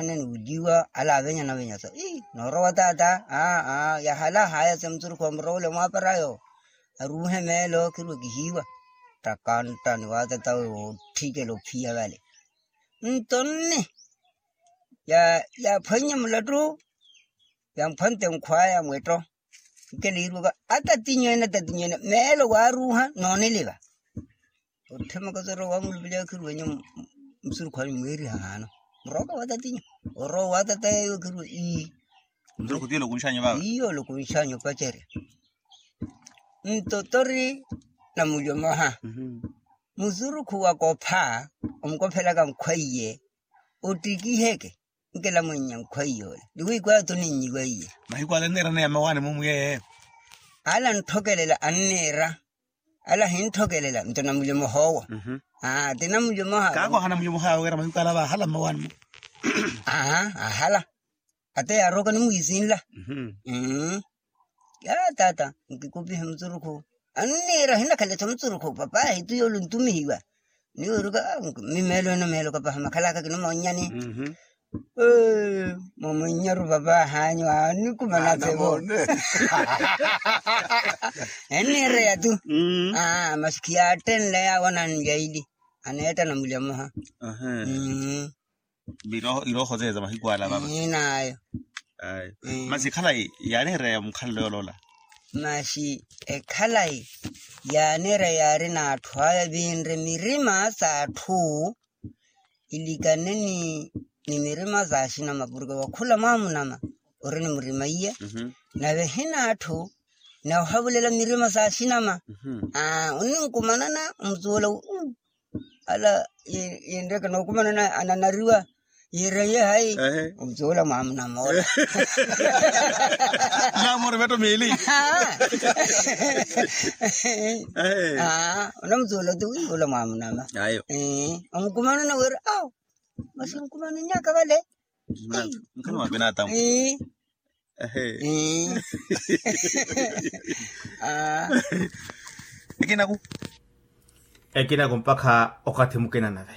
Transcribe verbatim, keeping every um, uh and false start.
Nene wuliwa ala avenyana venyaso ii noorowa taata. Aa yahala haya se musurukhu wa murowole mwaaparayo aruuhe meelo khirwe kihiiwa. Ttakanta ni waatata we wootthikela ophiya vale. Nto nne yaaphwannye mulattu yamphwante nkhwaya mwetto. Nkela iirwaka atatinyu ene atatinyu ene meelo waaruuha nooniliva. Otthemaka sorowa wamulupelya khirwenyu musurukhu anyu mweeriha haano. Murooka wa tatinyu orowa wa tata yeeyo khirwe ii. Musurukhu tiyo olokunxanyu vava iyo olokunxanyu opacerya. Nto tori namulyomoha musurukhu wakopha omukophelaka nkhwaiye. Ottikiheke nkela mwennya nkhwaiye ole ni wiikwaya toninyiwaiye. Mahiku ale nneerana ya mmawaani mumwiye. Ala antthokelela anniira. Ala hintthokelela nto namulyomoha owo. Aa ti namulyomoha. Kaakwaha namulyomoha wira mahiku ala vaahala mmawaani mu. Aa ahala. Ata yaarooka nimwiisinla. Mmm. Yaa taata nkikupihe mutsurukhu anniira hinakhalesa mutsurukhu papa ahi tu yoole ontumihiwa. Niweeruka mmi meelo ene meelo kapaha makhalaka kinomoonyani. Mmm. Mwamunnyaru papa ahanyu anikumana sevo. Enniireya tu. Mmm. Masi khiyattenle yaawona njaili aneetta namulya mmoha. Mmm. Irooho zeeza mahiku ala vava. Ii naayo. Masi ekhalayi yaaniireya mukhalelo yoola. Masi ekhalayi yaaniireya yaari n'atthu aya vinre mirima s'atthu ilikane ni mirima s'axinama porke wakhula mwaamunama ori ni murima iye. Nave hin'atthu n'ahavulela mirima s'axinama. Oninkumanana omusuwela uu ala yinreke nookumanana ananariwa yiireye hayi. Omusuwela mwaamunama ola. Namori vetto miili. Onamusuwela ti wiiwula mwaamunama. Omukumanana wira awo masi nkumananyaka vale. Mkhana wa binadamu. Ekinaku ekinaku mpakha okathi mukina nave.